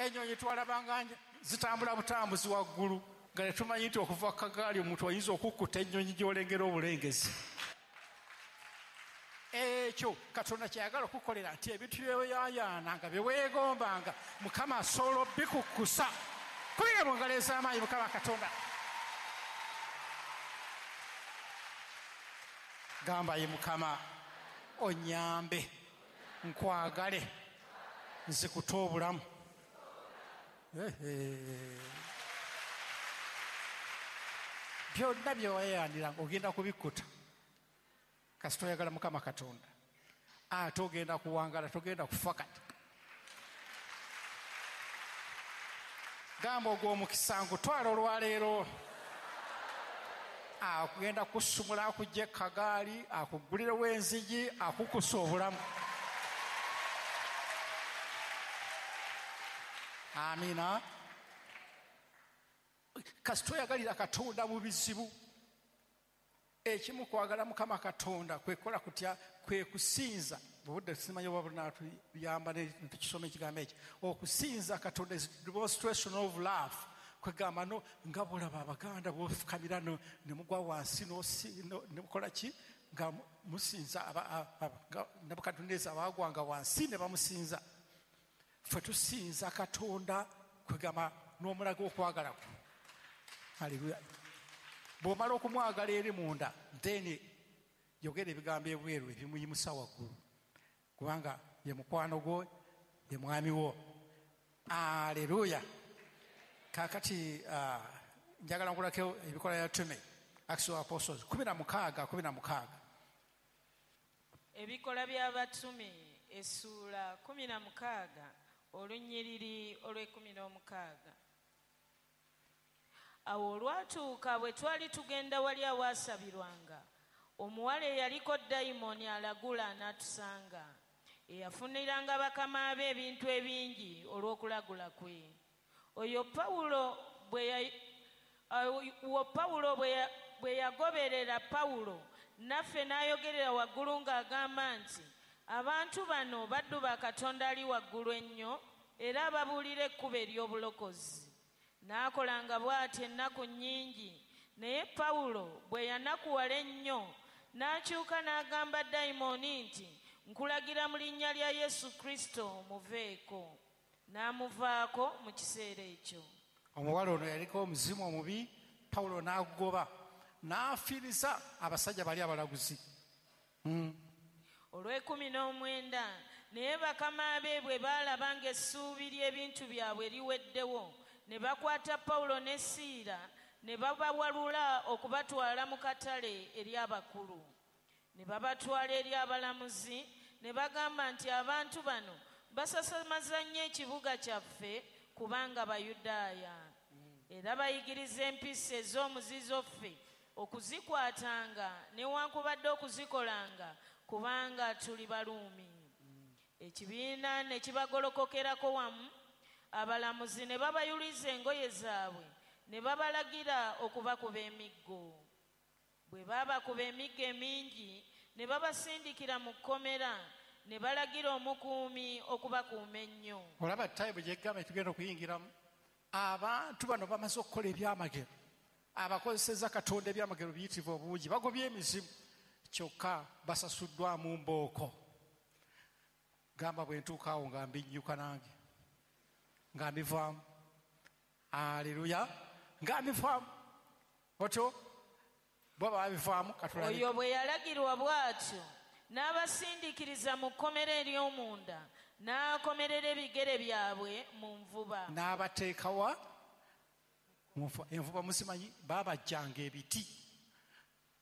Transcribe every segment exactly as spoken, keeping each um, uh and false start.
Ennyonyi twalabanga zitambula butambuzi waggulu nga tetumanyi nti okuva ku kagaali omuntu oyinza okukkuta ennyonyi gy'olengera obulengezi. Ekyo Katonda kyayagala okukolera nti ebintu byeweyayaana nga byeweegombanga Mukama asobola obikukkusa. Kubira mu ngalo ez'amaanyi Mukama Katonda. Gamba ye Mukama onyambe nkwagale nzikute obulamu. Byonna byewayayaniranga ogenda kubikkuta kasita oyagala Mukama Katonda, ate ogenda kuwangala, togenda kufa kati. Gamba ogw'omukisa nkutwala olwaleero, akugenda kusumula akujja ekagaali akugulirewo enzigi akukusa obulamu. Amina. Kasita oyagalira Katonda mu bizibu. Ekimu kwagala Mukama Katonda kwekola kutya? Kwe kusinza. Obudde simanyi oba bunaatuyamba ne tukisoma ekigambo ekyo. Okusinza Katonda is demonstration of love. Kwegamba no nga bw'olaba Abaganda bw'ofukamira ne mugwa wansi ne mukola ki nga musinza Nebukadduneeza baagwanga wansi ne bamusinza. Ffe tusinza Katonda kwegamba n'omulaga okwagala kwe. Haleluya. Bw'omala okumwagala eri munda, then yogera ebigambo ebweru ebimuyimusa waggulu, kubanga ye mukwano gwo, ye mwami wo. Aleluya. Kaakati uh, njagala nkulako ebikola bya Tume, Acts of Apostles kumi na mukaaga kumi na mukaaga. Ebikola by'Abatume essuula kumi na mukaaga olunyiriri olw'ekumi n'omukaaga. Awo olwatuuka bwe twali tugenda wali awaasabirwanga, omuwala eyaliko dayimooni alagula n'atusanga, eyafuniranga bakama be ebintu ebingi olw'okulagula kwe. Oyo Pawulo bwe Pawulo bwe yagoberera Pawulo naffe n'ayogerera waggulu ng'agamba nti abantu bano baddu ba Katonda ali waggulu ennyo era ababuulira ekkubo ery'obulokozi. N'akolanga bw'atyo ennaku nnyingi, naye Pawulo bwe yanakuwala ennyo n'akyuka n'agamba dayimooni nti nkulagira mu linnya lya Yesu Kristo muveeko. N'amuvaako mu kiseera ekyo. Omuwala ono yaliko omuzimu omubi, Pawulo n'agugoba n'afiiriza abasajja bali abalaguzi. Mm. Olw'ekumi n'omwenda, naye bakama be bwe baalaba ng'essuubi ly'ebintu byabwe liweddewo, ne bakwata Pawulo ne Siira ne babawalula okubatwala mu katale eri abakulu. Ne babatwala eri abalamuzi ne bagamba nti abantu bano basasamaza nnyo ekibuga kyaffe kubanga Bayudaaya, era bayigiriza empisa ez'omuzizo ffe okuzikwatanga newankubadde okuzikolanga kubanga tuli Baruumi. Ekibiina ne kibagolokokerako wamu, abalamuzi ne babayuliza engoye zaabwe ne babalagira okubakuba emiggo. Bwe baabakuba emiggo emingi ne babasindikira mu kkomera ne balagira omukuumi okubakuuma ennyo. Olaba tayibu gyegamba tugenda okuyingiramu, abantu bano bamaze okukola ebyamagero, abakozesezza Katonda ebyamagero biyitirivu obungi, bagobye emizimu, kyokka basasuddwamu mbooko. Gamba bwe ntuuka awo nga mbinnyuka nange nga mbivaamu. Aleluya, nga mbivaamu otyo bo babivaamu. Katulabe. Oyo bwe yalagirwa bw'atyo n'abasindikiriza mu kkomera ery'omunda n'akomerera ebigere byabwe mu nvuba. N'abateekawa envuba muzimanyi, baabajjanga ebiti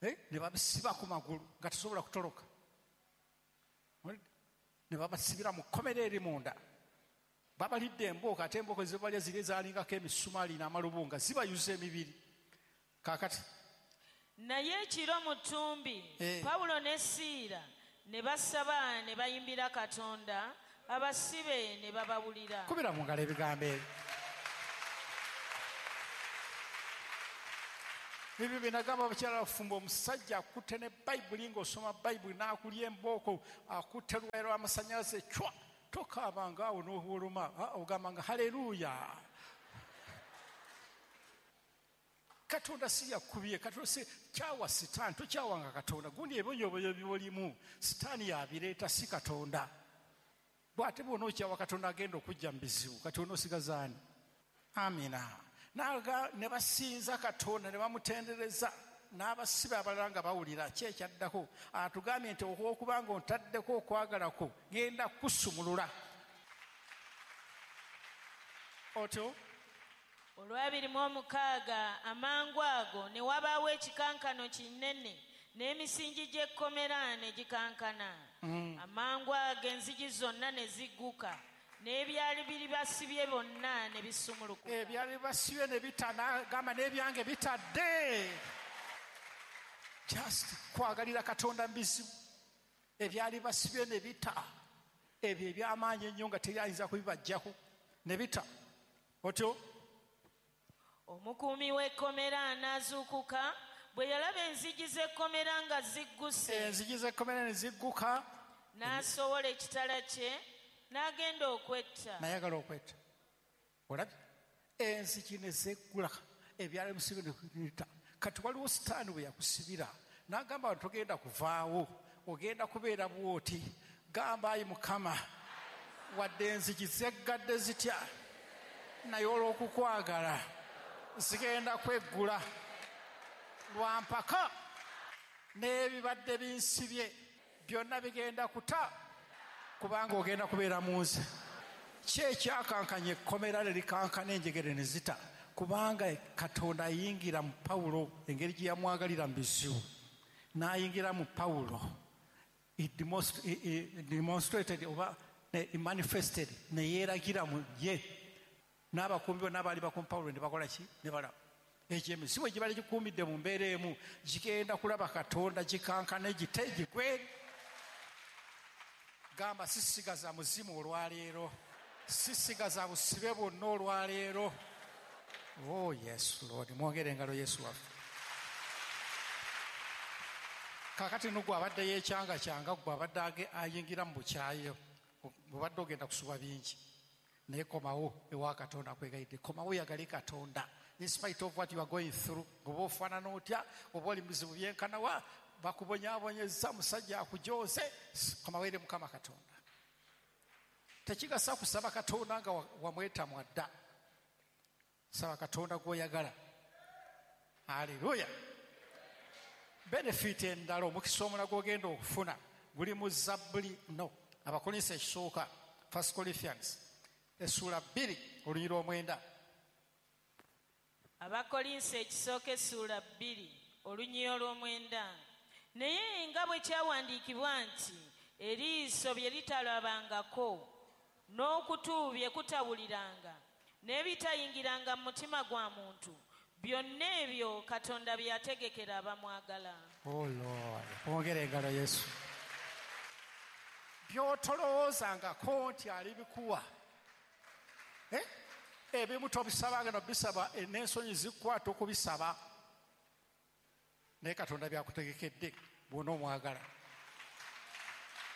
ne babisiba ku magulu nga tosobola kutoloka, ne babasibira mu kkomera eri munda. Babalidde embooko, ate embooko zebalya ziri ezaalingako emisumaali n'amalubu nga zibayuza emibiri. Kaakati naye ekiro mu ttumbi eh. Pawulo ne Siira ne basaba ne bayimbira Katonda, abasibe ne babawulira. Kubira mu ngalo ebigambo ebyo. Ebyo bye nagamba abakyala abafumbo, omusajja akutte ne Bayibuli ng'osoma Bayibuli n'akulya embooko, akutte luwaya lw'amasannyalaze cwa Tokaabanga awo n'obuwoloma, ogambanga haleluya. Katonda si yakubye, Katonda si kyawa Sitaani, tokyawanga Katonda. Gundi ebonyoboyo by'olimu Sitaani yabireeta, si Katonda. Bw'ate bw'onookyawa Katonda agenda okujja mu bizibu, kati onoosigaza ani? Amina. Naga ne basinza Katonda ne bamutendereza, n'abasibe abalala nga bawulira. Ki ekyaddako? Atugambye nti olw'okubanga ontaddeko okwagala kwo, genda kusumulula. Otyo olwabiri mu omukaaga amangu ago ne wabaawo ekikankano kinene n'emisingi gy'ekkomera ne gikankana. Mm. Amangu ago enzigi zonna ne zigguka n'ebyali biri basibye bonna ne bisumulukuka. Ebyali basibye ne bitana, gamba n'ebyange bitadde. Just kwagalira Katonda mu bizibu. Ebyali basibye ne bita, ebyo eby'amaanyi ennyo nga teyayinza kubibaggyako ne bita. Otyo omukuumi w'ekkomera n'azuukuka bwe yalaba enzigi z'ekkomera nga zigguse. Enzigi z'ekkomera ne zigguka. N'asowola ekitala kye n'agenda okwetta. N'ayagala okwetta. Olabye? Enzigi ne zeggula, ebyali bisibye ne bita. Kati waliwo Sitaani bwe yakusibira n'agamba nti togenda kuvaawo, ogenda kubeera bw'oti. Gamba ayi Mukama, wadde enzigi zeggadde zitya, naye olw'okukwagala zigenda kweggula lwampaka, n'ebibadde binsibye byonna bigenda kuta, kubanga ogenda kubeera mu nze. Ki ekyakankanya ekkomera ne likankana enjegere ne zita? Kubanga Katonda ayingira mu Pawulo engeri gye yamwagalira mu bizibu, n'ayingira mu Pawulo. He demonstrated oba he manifested, ne yeeragira mu ye. N'abakuumi bonna abaali bakuuma Pawulo ne bakola ki? Ne balaba. Ekyo emizimu egibadde gikuumidde mu mbeera emu gigenda kulaba Katonda, gikankane, gite, gigwe. Gamba sisigaza muzimu olwaleero, sisigaza busibe bwonna olwaleero. Oh yes Lord, mwongere engalo Yesu waffe. Kaakati no gwe abadde yeekyangakyanga, gwe abadde ayingira mu bukyayo, bw'obadde ogenda kusubwa bingi, naye komawo ewa Katonda akwegayidde. Komawo oyagale Katonda in spite of what you are going through. Oba ofaanana otya, oba oli muzibu byenkanawa, bakubonyaabonyezza, musajja akujooze, komawo eri Mukama Katonda. Tekigasa kusaba Katonda nga wamwetamwa dda. Saba Katonda gw'oyagala. Haleluya. Benefit endala omukisa omulala gw'ogenda okufuna guli mu Zabbuli, no, Abakolinso ekisooka, First Corinthians essuula bbiri olunyiriri omwenda. Abakolinso ekisooka essuula bbiri olunyiriri olw'omwenda. Naye nga bwe kyawandiikibwa nti eriiso bye litalabangako n'okutu bye kutawuliranga n'ebitayingiranga mu mutima gwa muntu, byonna ebyo Katonda bye yategekera abamwagala. Oh Lord, mwongere engalo Yesu. By'otolowoozangako nti alibikuwa, eh? Ebimu tobisabanga nobisaba, n'ensonyi zikukwata okubisaba, naye Katonda byakutegekedde bw'onoomwagala.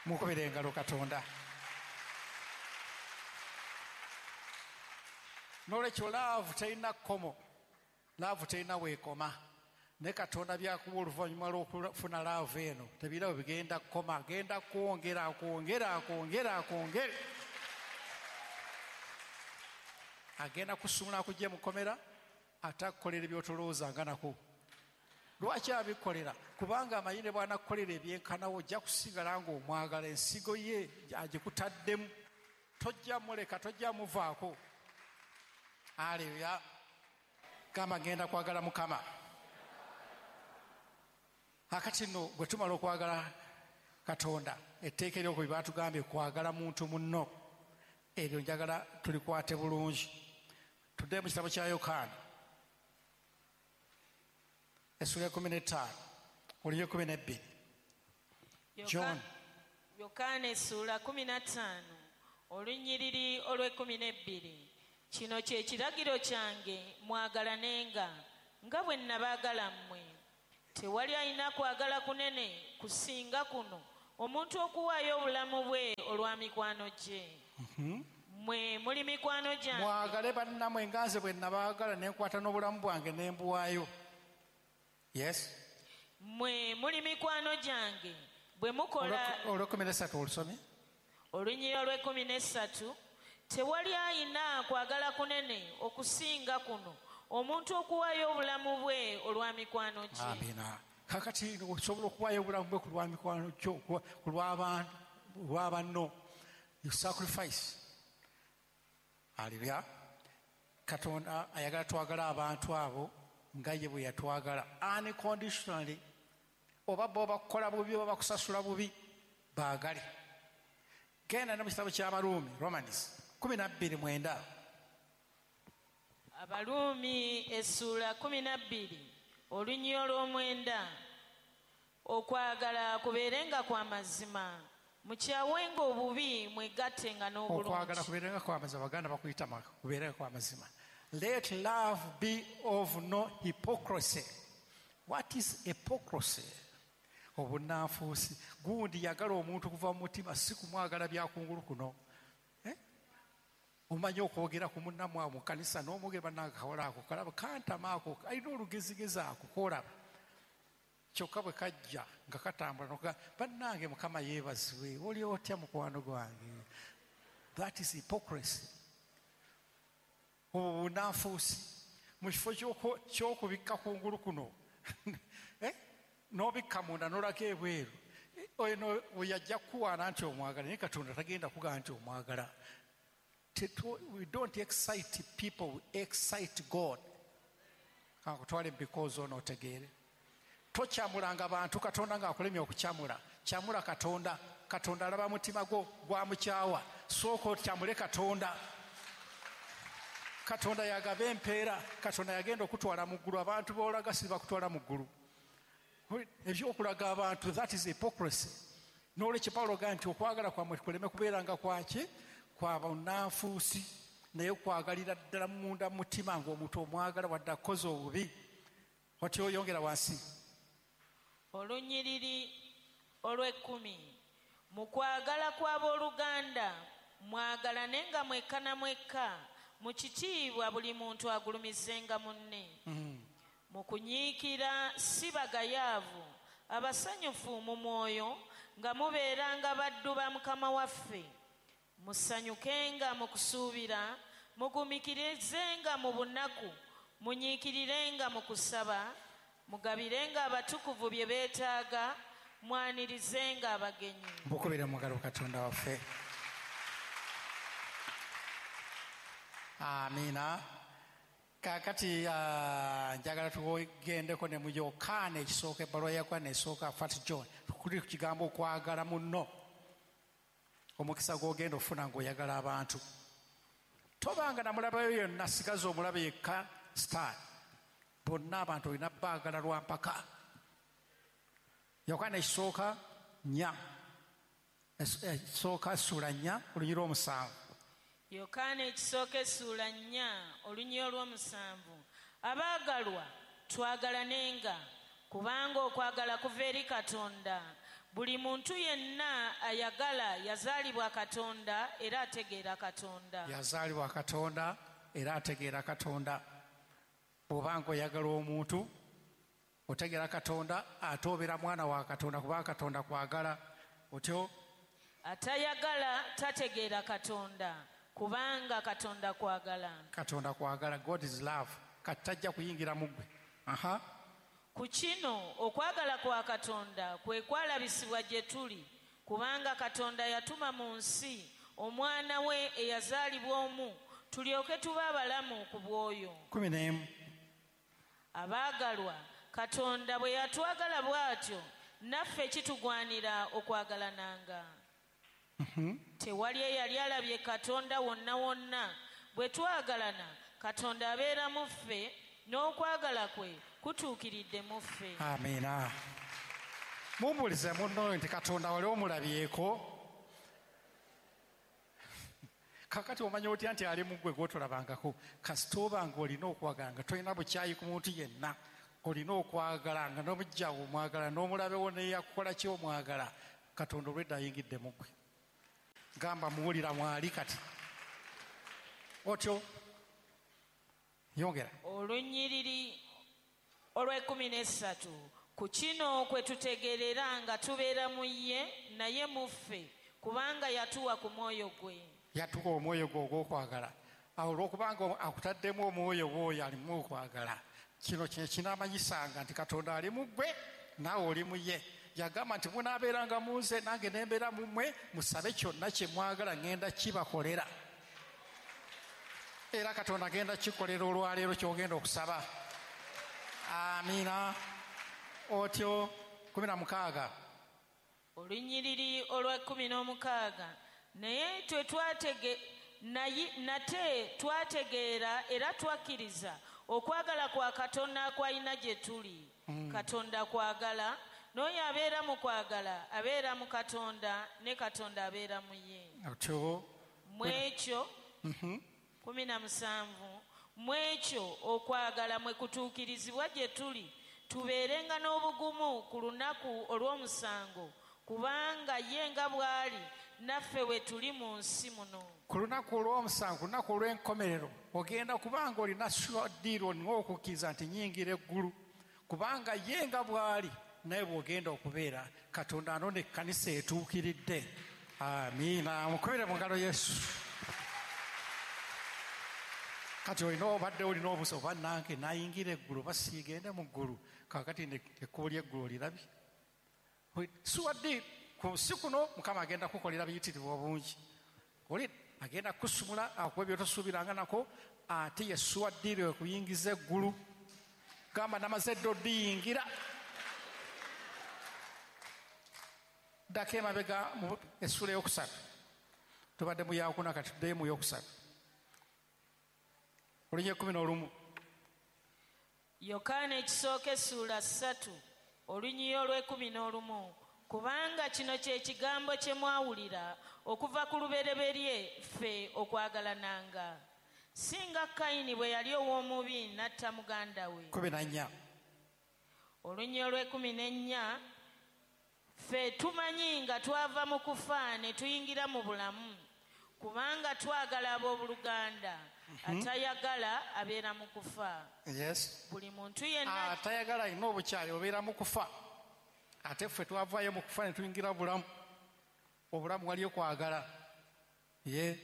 Mukubire engalo Katonda. N'olwekyo laavu terina kkomo, laavu terina weekoma, naye Katonda byakuwa oluvannyuma lw'okufuna laavu eno tebirabo bigenda kukoma, agenda kwongera akwongera akwongera akwongere. Agenda kusumula akujje mu kkomera ate akukolera by'otolowoozanga nako. Lwaki abikolera? Kubanga amanyi ne bw'anakukolera ebyenkanawo ojja kusigala ng'omwagala, ensigo ye agikutaddemu, tojja muleka, tojja muvaako. Haleluya. Gamba ngenda kwagala Mukama. Akati nno bwe tumala okwagala Katonda, etteeka eryokubiri baatugambye kwagala muntu munno. Eryo njagala tulikwate bulungi. Tudde mu kitabo kya Yokaana essuula ekkumi n'ettaano olunyiriri ekkumi n'ebbiri. John Yokaana essuula kkumi na ttaano olunyiriri olw'ekkumi n'ebbiri. Kino kye kiragiro kyange, mwagalanenga nga bwe nnabaagala mmwe. Tewali alina kwagala kunene kusinga kuno, omuntu okuwaayo obulamu bwe olwa mikwano gye. Mmwe muli mikwano gyange. Mwagale bannammwe nga nze bwe nabaagala ne nkwata n'obulamu bwange ne mbuwaayo. Yes. Mmwe muli mikwano gyange bwe mukola. Olw'ekkumi n'essatu olusomye. Olunyiriri olw'ekkumi n'essatu, tewali ayina kwagala kunene okusinga kuno, omuntu okuwaayo obulamu bwe olwa mikwano gye. Amiina. Kakati osobola okuwaayo obulamu bwe ku lwa mikwano gyo, ku lw'abantu, lwa banno. You sacrifice. Hallelujah. Katonda ayagala twagala abantu abo nga ye bwe yatwagala unconditionally. Oba bo bakukola bubi oba bakusasula bubi, baagale. Genda ne mu kitabo ky'Abaruumi, Romans kumi na bbiri mwenda. Abaruumi essuula kumi na bbiri olunyiriri olw'omwenda. Okwagala kubeerenga kwa mazima, mukyawenga obubi, mwegattenga n'obulungi. Okwagala kubeerenga kwa mazima, Abaganda bakuyita kubeerenga kwa mazima. Let love be of no hypocrisy. What is hypocrisy? Obunanfuusi. Gundi yagala omuntu kuva mu mutima, si kumwagala byakungulu kuno. Eh? Omanyi okwogera ku munnammwe mu kkanisa n'omugamba bannange kawala ako kalaba kantama ako alina olugezigezi ako k'olaba. Kyokka bwe kajja nga katambula n'okugamba bannange Mukama yeebazibwe, oli otya mukwano gwange. That is hypocrisy. Obunanfuusi. Mu kifo ky'okubikka kungulu kuno eh? N'obikka munda n'olaka ebweru. Oyo yajja kukuwaana nti omwagala, naye Katonda tagenda kugamba nti omwagala. We don't excite people, we excite God. Kankutwale because ono otegeere. Tokyamulanga bantu Katonda ng'akulemye okukyamula. Kyamula Katonda. Katonda alaba mutima gwo gwamukyawa. Sooka okyamule Katonda. Katonda yagaba empeera. Katonda yagenda okutwala mu ggulu. Abantu b'olaga si bakutwala mu ggulu. Ebyokulaga abantu, that is hypocrisy. N'olwekyo Pawulo agamba nti okwagala kwammwe kuleme kubeeranga kwaki? Kwa bunnanfuusi, naye okwagalira ddala munda mu mutima ng'omuntu omwagala wadde akoze obubi. Watyo oyongera wansi. Olunyiriri olw'ekkumi. Mu kwagala kw'abooluganda mwagalanenga mwekka na mwekka, mu kitiibwa buli muntu agulumizenga munne. Mu kunyiikira si bagayaavu, abasanyufu mu mwoyo, nga mubeeranga baddu ba Mukama waffe. Musanyukenga mu kusuubira, mugumikirizenga mu bunaku, munyiikirirenga mu kusaba, mugabirenga abatukuvu bye beetaaga, mwanirizenga abagenyi. Mukubire mu ngalo Katonda waffe. Amiina. Kaakati njagala tugendeko ne mu Yokaana ekisooka, ebbaluwa ya Yokaana esooka, First John, kuli ku kigambo okwagala munno. Omukisa gw'ogenda ofuna ng'oyagala abantu. Tobanga na mulabe yonna, sigaza omulabe yekka sitaani. Bonna abantu olina baagala lwa mpaka. Yokaana ekisooka nnya, ekisooka ssuula nnya olunyiriri olw'omusanvu. Yokaana ekisooka essuula nnya olunyiriri olw'omusanvu. Abaagalwa twagalanenga, kubanga okwagala kuva eri Katonda. Buli muntu yenna ayagala yazaalibwa Katonda era ategeera Katonda. Yazaalibwa Katonda era ategeera Katonda. Bw'obanga oyagala omuntu otegeera Katonda, ate obeera mwana wa Katonda kubanga Katonda kwagala. Otyo atayagala tategeera Katonda, kubanga Katonda kwagala. Katonda kwagala. God is love. Kati tajja kuyingira mu ggwe. Aha. Ku kino okwagala kwa Katonda kwe kwalabisibwa gye tuli, kubanga Katonda yatuma mu nsi omwana we eyazaalibwa omu, tulyoke tube abalamu ku bw'oyo. Kumi n'emu. Abaagalwa, Katonda bwe yatwagala bw'atyo, naffe kitugwanira okwagalananga. Tewali eyali alabye Katonda wonna wonna. Bwe twagalana, Katonda abeera mu ffe, n'okwagala kwe kutuukiridde mu ffe. Amiina. Mumbuulize munno nti Katonda wali omulabyeko? Kakati omanya otya nti ali mu ggwe gw'otolabangako? Kasita oba ng'olina okwagala nga tolina bukyayi ku muntu yenna, olina okwagala nga n'omujjawo omwagala n'omulabewo neyakukola ki omwagala, Katonda olwedda ayingidde mu ggwe. Gamba muwulira mwali kati. Otyo yongera. Olunyiriri olw'ekkumi n'essatu, ku kino kwe tutegeerera nga tubeera mu ye naye mu ffe, kubanga yatuwa ku mwoyo gwe. Yatuwa omwoyo gwe ogw'okwagala. Awo olw'okubanga akutaddemu omwoyo gw'oyo alimu okwagala, kino kye kinaamanyisanga nti Katonda ali mu ggwe naawe oli mu ye. Yagamba nti munaabeeranga mu nze nange ne mbeera mu mmwe, musabe kyonna kye mwagala ŋŋenda kibakolera. Era Katonda agenda kikolera olwaleero ky'ogenda okusaba. Amiina. Otyo kumi na mukaaga. Olunyiriri olwa kkumi n'omukaaga, naye twe twatege naye nate twategeera era twakkiriza okwagala kwa Katonda kwalina gye tuli. Mm. Katonda kwagala, n'oyo abeera mu kwagala abeera mu Katonda ne Katonda abeera mu ye. Otyo mu ekyo Mhm. kumi na musanvu, mu ekyo okwagala mwe kutuukirizibwa gye tuli, tubeerenga n'obugumu ku lunaku olw'omusango, kubanga ye nga bw'ali naffe we tuli mu nsi muno. Ku lunaku olw'omusango, ku lunaku olw'enkomerero, ogenda kubanga olina sure deal, olina okukkiriza nti nnyingira eggulu, kubanga ye nga bw'ali naye bw'ogenda okubeera. Katonda anona ekkanisa etuukiridde. Amiina. Mukubire mu ngalo Yesu. Kati olina obadde olina obusa oba nange nayingira eggulu oba siigende mu ggulu, kaakati ekkubo ly'eggulu olirabye. Sure deal ku nsi kuno Mukama agenda kukolera biyitirivu obungi. Oli agenda kusumula akuwa by'otosuubiranga nako, ate ye sure deal ekuyingiza eggulu. Gamba namaze dda oddiyingira. Ddako emabega mu essuula ey'okusatu, tubadde mu yakuna, kati tuddeyo mu yokusatu, olunya ekkumi n'olumu. Yokaana ekisooka essuula ssatu, olunyiriri olw'ekkumi n'olumu, kubanga kino kye kigambo kye mwawulira okuva ku lubereberye, ffe okwagalananga, singa Kayini bwe yali ow'omubi n'atta muganda we. Kumi na nnya. Olunyiriri olw'ekkumi n'ennya, ffe tumanyi nga twava mu kufa ne tuyingira mu bulamu, kubanga twagala abooluganda. Atayagala abeera mu kufa. Yes. Buli muntu yenna atayagala alina obukyayi obeera mu kufa. Ate ffe twavaayo mu kufa ne tuyingira bulamu. Obulamu waliyo kwagala. Ye.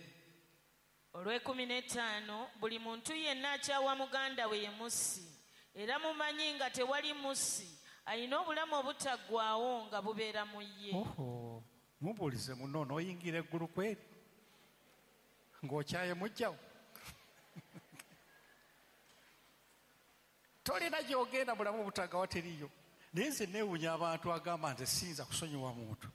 Olw'ekkumi n'ettaano, buli muntu yenna akyawa muganda we ye mussi, era mumanyi nga tewali mussi alina obulamu obutaggwaawo nga bubeera mu ye. Oho, mubuulize muno n'oyingira eggulu kweri ng'okyaye mujjawo. Tolina gy'ogenda bulamu obutaggawa teriiyo. Naye nze neewuunya abantu agamba nti siyinza kusonyiwa muntu,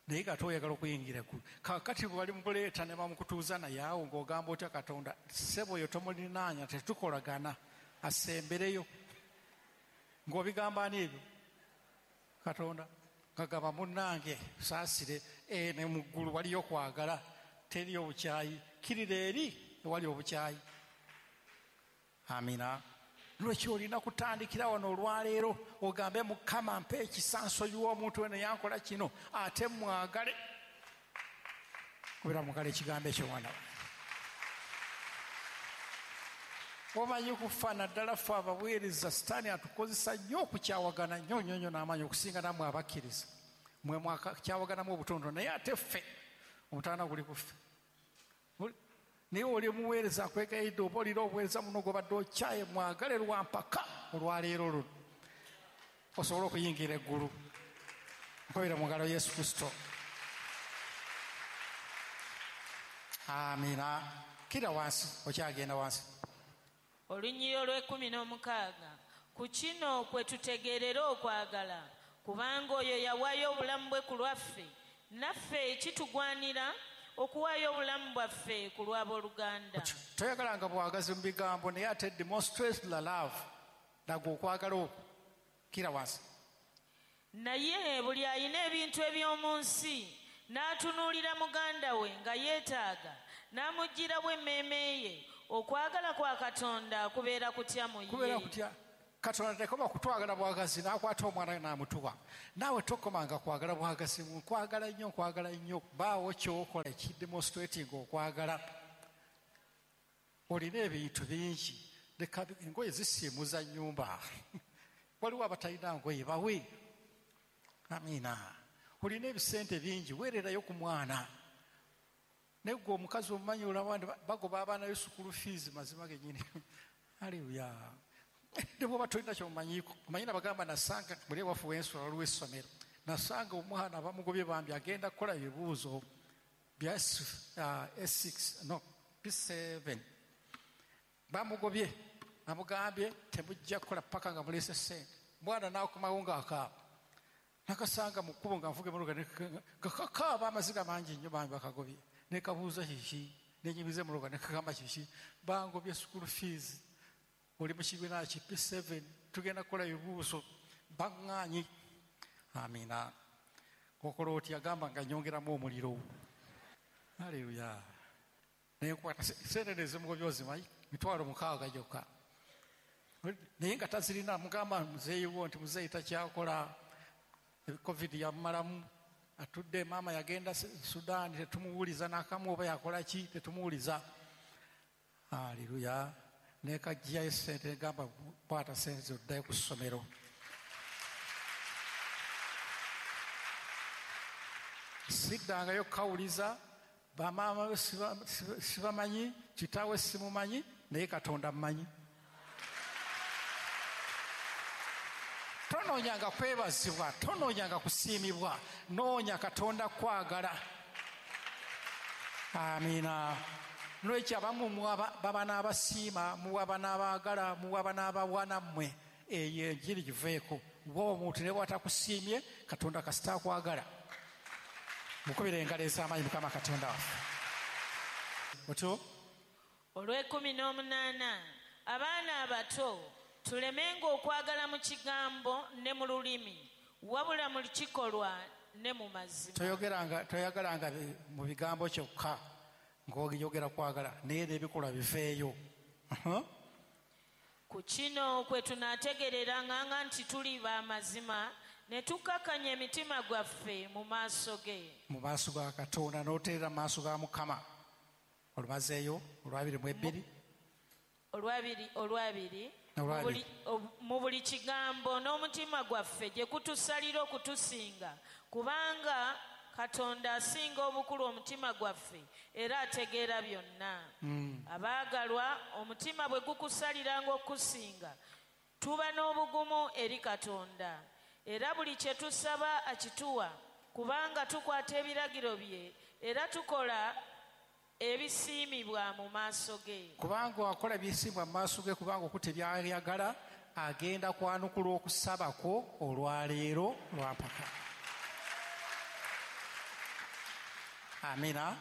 naye nga toyagala okuyingira eggulu. Kaakati bwe bali mukuleeta ne bamukutuuza naye awo ng'ogamba otya Katonda, ssebo oyo tomulinaanya, tetukolagana, asembereyo. Ng'obigamba ani ebyo? Katonda. Ngagamba munnange saasire, e, ne mu ggulu waliyo kwagala, teriyo obukyayi, kirira eri ewali obukyayi. Amiina. Lwaki olina kutandikira wano olwaleero ogambe Mukama mpa ekisa nsonyiwa omuntu weno yankola kino, ate mwagale. Kubira mugale ekigambo ekyo mwana wange. Omanyi kufa naddala ffe abaweereza, Sitaani atukozesa nnyo okukyawagana nnyo nnyo nnyo n'amaanyi okusinga nammwe abakkiriza. Mmwe mwakyawaganamu obutono, naye ate ffe omutaana guli ku ffe. Naye oli omuweereza akwegayidde oba olina obuweereza muno gw'obadde okyaye, mwagale lwampaka olwaleero luno osobole okuyingira eggulu. Nkubira mu ngalo Yesu Kristo. Amiina. Kira wansi, okyagenda wansi. Olunyiriri olw'ekkumi n'omukaaga, ku kino kwe tutegeerera okwagala, kubanga oyo yawaayo obulamu bwe ku lwaffe, naffe kitugwanira okuwaayo obulamu bwaffe ku lw'abooluganda. Toyagalanga bwagazi mu bigambo, naye ate demonstrate the love, laga okwagala okwo. Kira wansi. Naye buli alina ebintu eby'omu nsi n'atunuulira muganda we nga yeetaaga, n'amuggyirawo emmeeme ye, okwagala kwa Katonda kubeera kutya mu ye? Kubeera kutya? Katonda tekoma kutwagala bwagazi n'akwata omwana we n'amutuwa. Naawe tokomanga kwagala bwagazi, nkwagala nnyo, nkwagala nnyo, baawo ky'okola ekidemonstrating okwagala. Olina ebintu bingi, leka engoye zisiimuza nnyumba. Waliwo abatalina ngoye, bawe. Amiina. Olina ebisente bingi, weererayo ku mwana. Naye gwe omukazi omumanyi olaba nti bagoba abaana yo school fees, mazima gennyini. Haleluya. Ne bw'oba tolina ky'omanyiiko, omanyi nabagamba nasanga buli ewaffe w'ensula waliwo essomero, nasanga omwana bamugobye bambi agenda kukola ebibuuzo bya S six, no P seven. Bamugobye, bamugambye temujja kukola paka nga muleese ssente. Mwana n'akomawo ng'akaaba. Nakasanga mu kkubo nga nvuga emmotoka nga kakaaba amaziga mangi nnyo, bambi bakagobye. Ne kabuuza kiki, ne nyimiza emmotoka ne kagamba kiki, bangobye school fees. Oli mu kibiina ki P seven, tugenda kukola ebibuuzo, baŋŋaanyi. Amiina. Okola otya? Gamba nga nnyongeramu omuliro. Haleluya. Naye nkwata ssente nezimugobye ozimanyi, mitwalo mukaaga gyokka. Naye nga tazirina, mugamba muzeeyi wo nti muzeeyi takyakola, COVID yamumalamu, atudde, maama yagenda Sudan, tetumuwuliza n'akamu oba yakola ki, tetumuwuliza. Haleluya. Ne kajjayo ssente, negamba kwata ssente oddayo ku ssomero. Siddangayo kukawuliza, bamaama be sibamanyi, kitaawe simumanyi, naye Katonda mmanyi. Tonoonyanga kwebazibwa, tonoonyanga kusiimibwa, noonya Katonda kwagala. Amiina. Nolwekyo abamu baba n'abasiima, muwaba n'abaagala, muwaba n'abawa nammwe, eyo enjiri giveeko. Bw'oba omuntu ne bw'atakusiimye, Katonda kasita akwagala. Mukubire engalo ez'amaanyi Mukama Katonda waffe. Otyo? Olw'ekkumi n'omunaana, abaana abato tulemenga okwagala mu kigambo ne mu lulimi, wabula mu kikolwa ne mu mazima. Toyogeranga, toyagalanga mu bigambo kyokka ng'oyogera kwagala, naye n'ebikolwa biveeyo. Ku kino kwe tunaategereranga nti tuli b'amazima, ne tukkakanya emitima gwaffe mu maaso ge. Mu maaso ga Katonda, n'oteerera mu maaso ga Mukama. Olumazeeyo olwabiri mu ebbiri. Olwabiri, olwabiri. Mu buli kigambo n'omutima gwaffe gye kutusalira okutusinga, kubanga Katonda asinga obukulu omutima gwaffe era ategeera byonna. Abaagalwa, omutima bwe gukusaliranga okusinga, tuba n'obugumu eri Katonda. Era buli kye tusaba akituwa, kubanga tukwata ebiragiro bye era tukola ebisiimibwa mu maaso ge. Kubanga wakola ebisiimibwa mu maaso ge, kubanga okutte by'ayagala, agenda kwanukula okusaba kwo olwaleero lwampaka. Amina.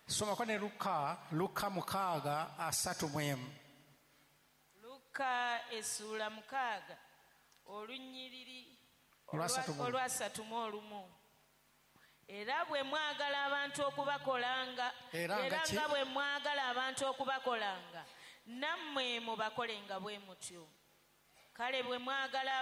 Somako ne Luka, Luka mukaaga asatu mu emu. Luka essuula mukaaga olunyiriri olwasatu mu olumu. Era bwe mwagala abantu okubakolanga, era nga bwe mwagala abantu okubakolanga, nammwe mubakolenga bwe mutyo. Kale bwe mwagala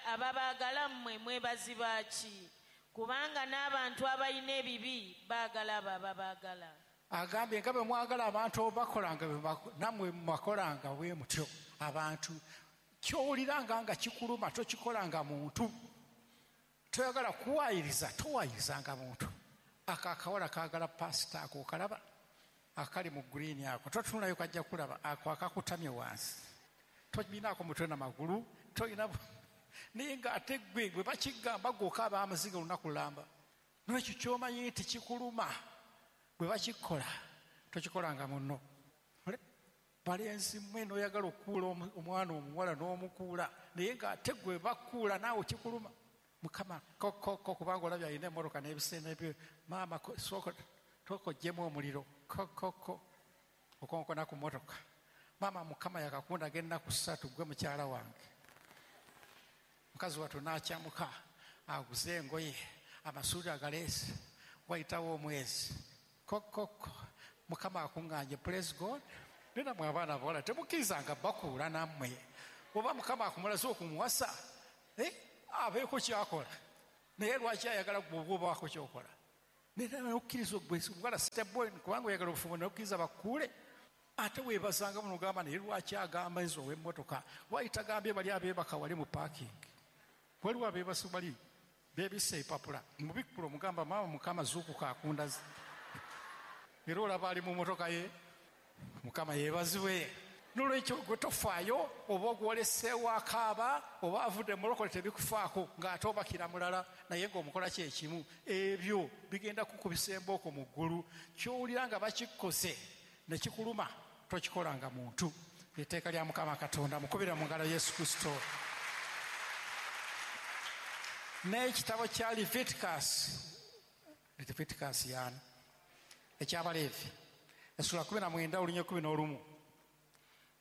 ababaagala mmwe mwebaziba ki? Kubanga n'abantu abalina ebibi baagala abo ababaagala. Agambye nga bwe mwagala abantu obakolanga, nammwe mubakolanga bwe mutyo. Abantu ky'owuliranga nga kikuluma tokikolanga muntu. Toyagala kuwayiriza, towayirizanga muntu. Ako akawala kaagala pasita ako okalaba, akali mu green ako, totununayo kajja kulaba, ako akakutamye wansi. Tolinaako mutwe na magulu, tolina naye ng'ate ggwe bwe bakigamba ggwe okaaba amaziga olunaku lulamba. N'ekyo ky'omanyi nti kikuluma, bwe bakikola tokikolanga munno. Balenzi mmwe n'oyagala okukuula omwana omuwala n'omukuula, naye ng'ate ggwe bakuula naawe kikuluma. Mukama kokoko kubanga olabye alina emmotoka n'ebisenge bye, maama sooka tokoggyemu omuliro, kokoko okonkona ku mmotoka. Maama Mukama yakakundaga ennaku ssatu ggwe mukyala wange. Mukazi wattu n'akyamuka aguze engoye, amasuuti agaleese, wayitawo omwezi. Kokoko Mukama akuŋŋaanye, praise God. Naye nammwe abaana abawala temukkirizanga bakuula nammwe. Oba Mukama akumulaze okumuwasa, eh? Abeeko kyakola. Naye lwaki ayagala ggwe oba obaako ky'okola? Naye okkiriza omuwala step boy kubanga oyagala obufumbo, naye okkiriza bakuule. Ate weebazanga muno ogamba naye lwaki agamba nze ow'emmotoka, lwaki tagambye bali abeebaka wali mu parking, waliwo abeebasi bali beebisse empapula mubikkula omugamba maama Mukama zuukuka akundaze, era olaba ali mu mmotoka ye. Mukama yeebazibwe. Nolwekyo gwe tofaayo oba ogwoleseewo akaaba oba avudde mulokole tebikufaako ng'ate obakira mulala naye ng'omukola kyekimu. Ebyo bigenda kukubisa embooko mu ggulu. Ky'owulira nga bakikkoze ne kikuluma tokikolanga muntu. Etteeka lya Mukama Katonda. Mukubira mu ngalo Yesu Kristo. N'ekitabo kya Leviticus, Leviticus yaani eky'Abaleevi essuula kumi na mwenda olunya kumi n'olumu.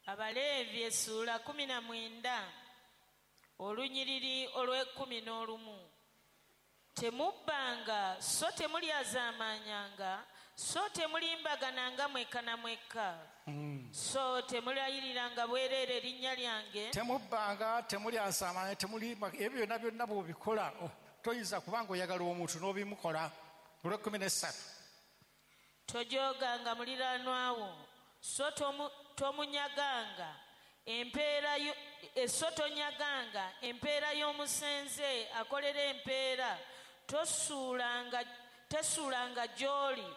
Abaleevi essuula kumi na mwenda olunyiriri olw'ekkumi n'olumu. Temubbanga so temulyazaamaanyanga so temulimbagananga mwekka na mwekka. Mm. So temulayiriranga bwereere erinnya lyange. Temubbanga, temulyazaamaanya, temulimba, ebyo byonna byonna bw'obikola oh, toyinza kubanga oyagala omuntu n'obimukola. Olw'ekkumi n'essatu. Tojooganga muliraanwa wo so tomu tomunyaganga empeera so tonyaganga empeera y'omusenze akolera empeera, tosuulanga tesuulanga gy'oli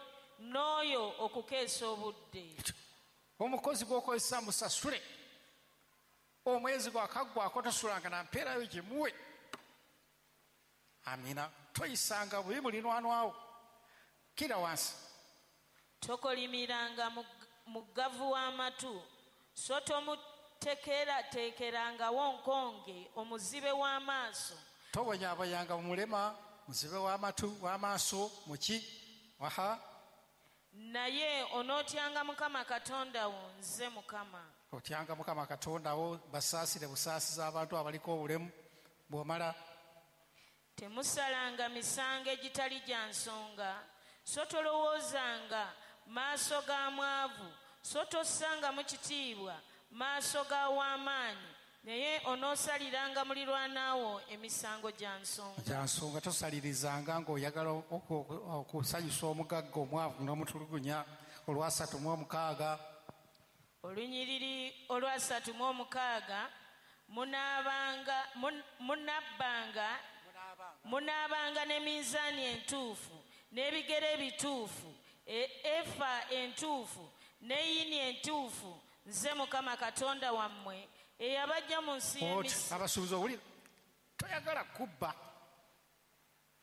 n'oyo okukeesa obudde. Omukozi gw'okozesa musasule, omwezi gwakaggwako tosuulanga na mpeera yo gimuwe. Amina. Toyisanga bubi muliraanwa wo. Kira wansi. Tokolimiranga muggavu w'amatu so tomuteekerateekerangawo nkonge omuzibe w'amaaso. Tobonyabonyanga mulema muzibe w'amatu w'amaaso muki waha. Naye onootyanga Mukama Katonda wo, nze Mukama. Otyanga Mukama Katonda wo, basaasire busaasiza abantu abaliko obulemu. Bw'omala temusalanga misango egitali gya nsonga so tolowoozanga maaso ga mwavu so tossangamu kitiibwa maaso ga w'amaanyi, naye onoosaliranga muliraanwa emisango gya nsonga. Gya nsonga. Tosalirizanga ng'oyagala okusanyusa omugagga omwavu n'omutulugunya. Olwasatu mu omukaaga. Olunyiriri olwasatu mu omukaaga. Munaabanga munabbanga munaabanga n'eminzaani entuufu n'ebigere ebituufu, efa entuufu n'eyini entuufu, nze Mukama Katonda wammwe eyabajja mu nsi y'Emisiri. Abasuubuzi owulira toyagala kubba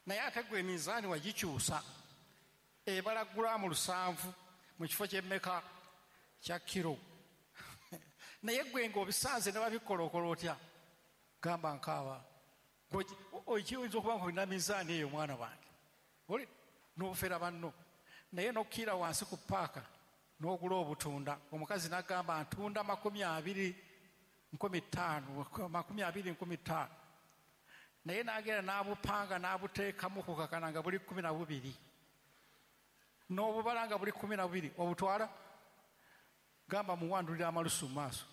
naye ate gwe eminzaani wagikyusa ebala gulaamu lusanvu mu kifo ky'emmeka kya kiro naye gwe ng'obisanze ne babikolokola otya? Gamba nkaaba okiyinza okuba nga olina minzaani eyo mwana wange oli n'obufera banno, naye n'okkiira wansi ku paaka n'ogula obutunda. Omukazi n'agamba ntunda makumi abiri nkumi ttaano makumi abiri nkumi ttaano, naye n'agenda n'abupanga n'abuteekamu kukakana nga buli kkumi na bubiri n'obubala nga buli kkumi na bubiri. Obutwala gamba muwandulira amalusu mu maaso.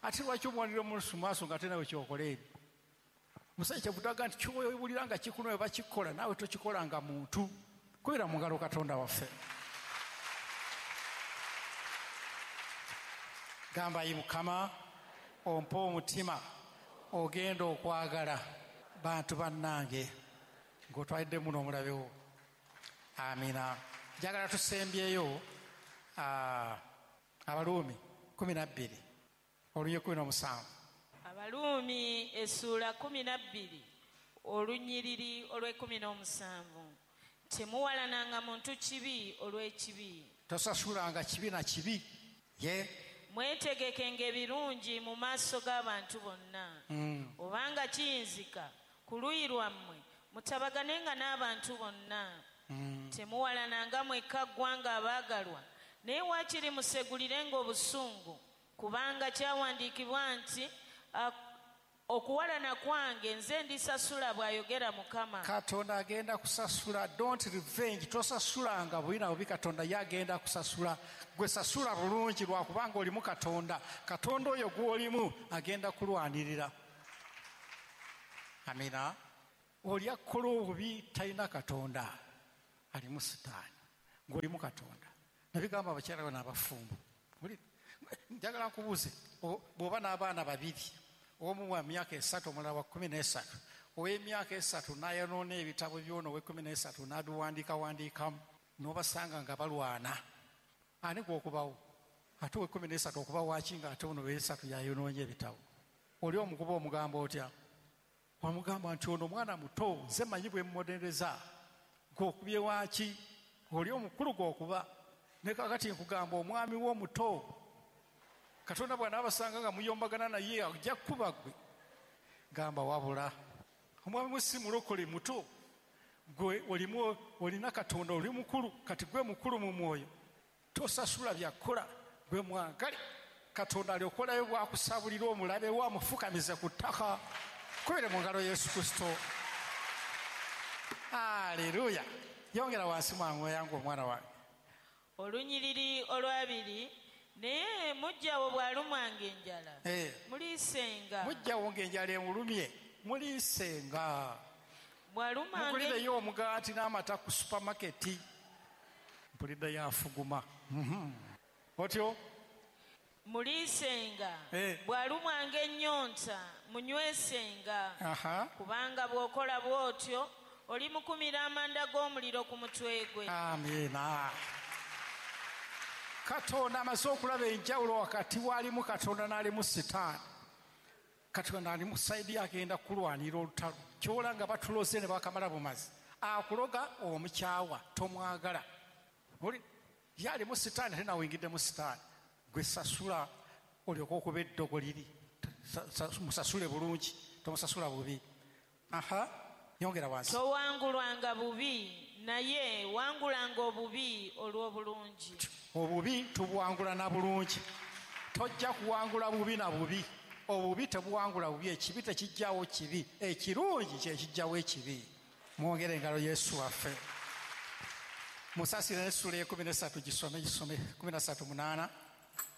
Ate lwaki omuwandulira amalusu mu maaso nga ate nawe kyokola ebyo? Musajja kyavudde nti ky'owulira nga kikuluma bakikola naawe tokikolanga muntu. Kubira mu ngalo Katonda waffe. Gamba ayi Mukama ompe omutima ogenda okwagala bantu bannange ng'otwaliddemu n'omulabewo. Amina. Njagala tusembyeyo Abaruumi kumi na bbiri olunya kumi n'omusanvu. Abaruumi essuula kumi na bbiri olunyiriri olw'ekkumi n'omusanvu. Temuwalananga muntu kibi olw'ekibi. Tosasulanga kibi na kibi. Ye mwetegekenga ebirungi mu maaso g'abantu bonna. Mm. Obanga kiyinzika ku luuyi lwammwe mutabaganenga n'abantu bonna. Mm. Temuwalananga mwekka ggwanga abaagalwa, naye waakiri musegulirenga obusungu, kubanga kyawandiikibwa nti okuwalana kwange nze ndisasula, bw'ayogera Mukama. Katonda agenda kusasula. Don't revenge. Tosasulanga bubi na bubi, Katonda ye agenda kusasula. Gwe sasula bulungi lwakubanga olimu Katonda. Katonda oyo gw'olimu agenda kulwanirira. Amina. Oli akola obubi talina Katonda, alimu Sitaani. Ng'olimu Katonda. Nabigamba abakyala bano abafumbo, Njagala nkubuuze, bw'oba n'abaana babiri, omu wa myaka esatu omulala wa kkumi n'esatu, ow'emyaka esatu n'ayonoona ebitabo by'ono ow'ekkumi n'esatu n'abiwandiikawandiikamu, n'obasanga nga balwana, ani gw'okubawo? Ate ow'ekkumi n'esatu okuba waaki ng'ate ono ow'esatu yayonoonye ebitabo? Oli omukuba omugamba otya? Wamugamba nti ono mwana muto, nze mmanyi bwe mmubonereza, gw'okubye waaki? Oli omukulu gw'okuba. Ne kaakati nkugamba omwami w'omuto, Katonda bw'anaabasanga nga muyombagana naye ajja kukuba ggwe. Gamba wabula omwami we si mulokole muto, gwe olimu olina Katonda, oli mukulu, kati gwe mukulu mu mwoyo, tosasula byakukola, gwe mwagale. Katonda alyokolayo bw'akusabulira omulabe we amufukamize ku ttaka. Kubire mu ngalo Yesu Kristo. Aleluya. Yongera wansi mwangu yangu omwana wange. Olunyiriri olwabiri, naye mujjawo bw'alumwanga enjala, muliisenga. Mujjawo ng'enjala emulumye, muliisenga. Bw'alumwanga mugulireyo omugaati n'amata ku supamaketi. Mpuliddeyo afuguma. Otyo? Muliisenga. Bw'alumwanga ennyonta, munywesenga. Kubanga bw'okola bw'otyo, olimukumira amanda g'omuliro ku mutwe gwe. Amiina. Katonda amaze okulaba enjawulo wakati w'alimu Katonda n'alimu Sitaani. Katonda ali mu sayidi agenda kulwanira olutalo. Ky'ola nga batuloze ne bakamala bumazi. Akuloga omukyawa, tomwagala. Oli ye alimu Sitaani ate nawe oyingiddemu Sitaani. Gwe sasula olyoke okuba eddogo liri. Musasule bulungi, tomusasula bubi. Aha, yongera wansi. Towangulwanga bubi, naye wangulanga obubi olw'obulungi. Obubi tubuwangula na bulungi. Tojja kuwangula bubi na bubi. Obubi tebuwangula bubi, ekibi tekijjawo kibi, ekirungi kye kijjawo ekibi. Mwongere engalo Yesu waffe. Musasire n'essuula ey'ekkumi n'essatu gisome, gisome kkumi na ssatu munaana,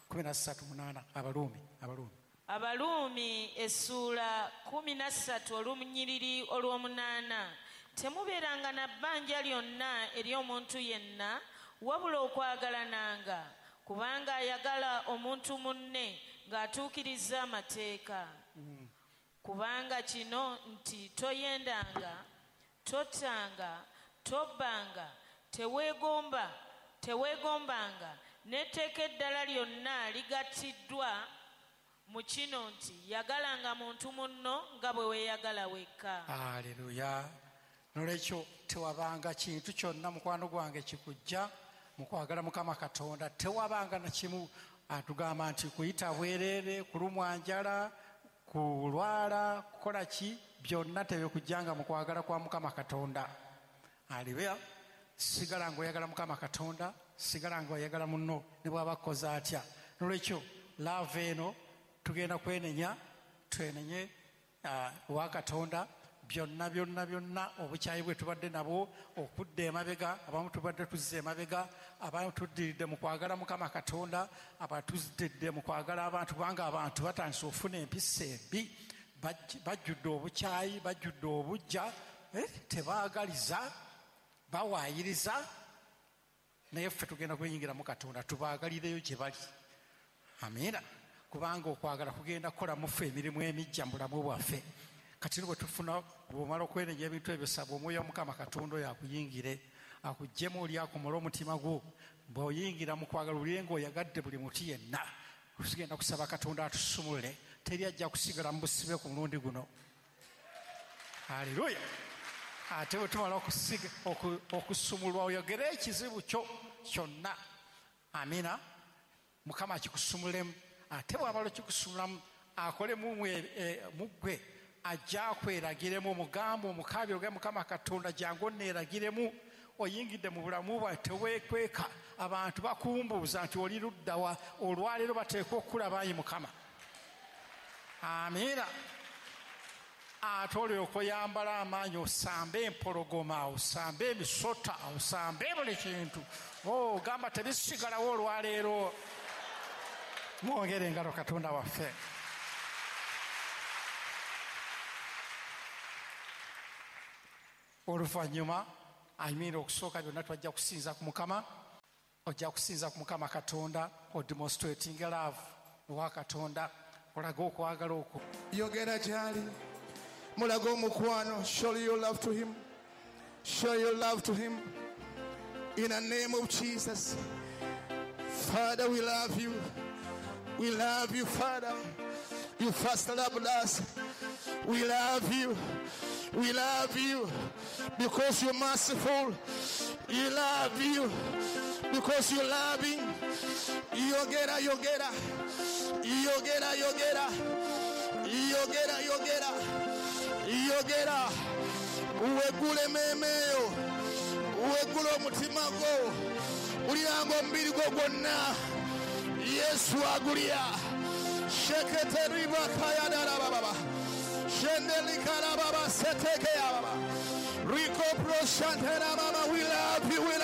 kkumi na ssatu munaana, Abaluumi, Abaluumi. Abaluumi essuula kkumi na ssatu olunyiriri olw'omunaana. Temubeeranga na bbanja lyonna ery'omuntu yenna, wabula okwagalananga, kubanga ayagala omuntu munne ng'atuukiriza amateeka. Mm. Kubanga kino nti toyendanga, tottanga, tobbanga, teweegomba, teweegombanga, n'etteeka eddala lyonna ligattiddwa mu kino nti yagalanga muntu munno nga bwe weeyagala wekka. Aleluya. Nolwekyo tewabanga kintu kyonna mukwano gwange kikujja mu kwagala Mukama Katonda. Tewabanga na kimu atugamba nti kuyita bwereere, kulumwa njala, kulwala, kukola ki, byonna tebikujjanga mu kwagala kwa Mukama Katonda. Aleluya. Sigala ng'oyagala Mukama Katonda, sigala ng'oyagala munno ne bw'aba akoze atya. Nolwekyo laava eno tugenda kwenenya, twenenye wa Katonda byonna byonna byonna obukyayi bwe tubadde nabwo okudda emabega, abamu tubadde tuzze emabega, abamu tuddiridde mu kwagala Mukama Katonda, abatuzidde mu kwagala abantu, kubanga abantu batandise okufuna empisa embi, bajjudde obukyayi, bajjudde obuggya, tebaagaliza, bawaayiriza. Naye ffe tugenda kwenyingira mu Katonda, tubaagalireyo gye bali. Amiina. Kubanga okwagala kugenda kukola mu ffe emirimu emijja mu bulamu bwaffe. Kati bwe tufuna bw'omala okwenenya ebintu ebyo, saba omwoyo wa Mukama Katonda oyo akuyingire, akuggyemu oli akomole omutima gwo. Bw'oyingira mu kwagala olire ng'oyagadde buli muti yenna. Tugenda kusaba Katonda atusumulule, teri ajja kusigala mu busibe ku mulundi guno. Aleluya. Ate bwe tumala okusumulwa oyogere ekizibu kyo kyonna. Amiina. Mukama akikusumulemu. Ate bw'amala okikusumulamu akolemu mu ggwe, ajja akweragiremu, omugambo omukaabire ogambe Mukama Katonda jangu onneeragiremu. Oyingidde mu bulamu bwange teweekweka, abantu bakumbuuza nti oli ludda wa, olwaleero bateekwa okulaba ayi Mukama. Amiina. Ate olyoka oyambala amaanyi, osambe empologoma, osambe emisota, osambe buli kintu. Oh, gamba tebisigalawo olwaleero. Mwongere engalo Katonda waffe. Oluvannyuma amiina okusooka byonna twajja kusinza ku Mukama. Ojja kusinza ku Mukama Katonda, odemonstrating love wa Katonda, olaga okwagala okwo. Yogera gy'ali, mulage omukwano. Show your love to him. Show your love to him. In the name of Jesus. Father, we love you. We love you, Father. You first loved us. We love you. We love you because you're merciful. We love you because you're loving. Yogera, yogera. Yogera, yogera. Yogera, yogera. Yogera. Wegule memeyo. Wegule omutima gwo. Uliranga omubiri gwo gwonna. Yesu agulya. Shekete riba kaya darababa. Shendeli karababa seteke yababa. Rico pro shantera mama. We love you, we